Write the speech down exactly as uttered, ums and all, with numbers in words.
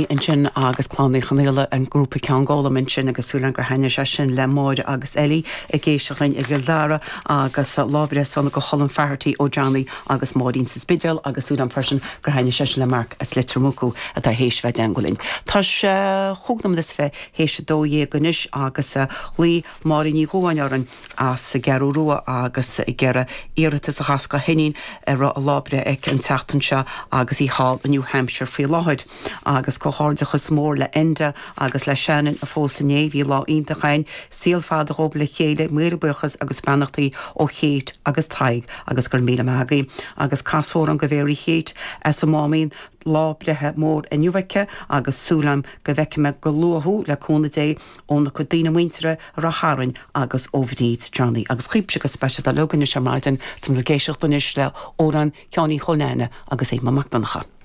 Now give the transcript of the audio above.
Ansin agus Clann Uí Chonghaile an grúpa Ceann Gólam ansin agus súil agam gur thaitnigh sé sin le Máire agus Ellie ag éisteacht linn i gCill Dara agus lá breithe sona go Colin Faherty ó Johnny agus Máirín sa Spidéal agus súil agam freisin gur thaitnigh sé sin le Mark as Leitir Mucú atá théis bheith i dteagmháil linn. Tá sé chúig nóiméad is fiche théis a dó dhéag anois agus ghlaoigh Máirín Ní Dhúáin orainn as an gCeathrú Rua agus ag iarraidh iarratas a chas go hiníon ar a lá breithe aici an tseachtain seo agus í thall i New Hampshire faoi láthair agus comhghairdeachas mór le Enda agus le Shannon a phós inné bhí lá iontach ann saol fada dóibh le chéile míle buíochas agus beannachtaí ó Kate agus Tadhg agus gur míle maith agaibh agus casóran go Mary Kate as an Máimín lá breithe mór inniu aici agus súil agam go bhfeicfidh mé go luath thú le cúnamh Dé óna cuid daoine muinteartha a raibh tharainn agus ó Bhríd Johnny agus chuimse go speisialta le gunne se maidin tum le géiseach anois le amhrán Sheáin Uí Chóilneána agus é Mac Donncha.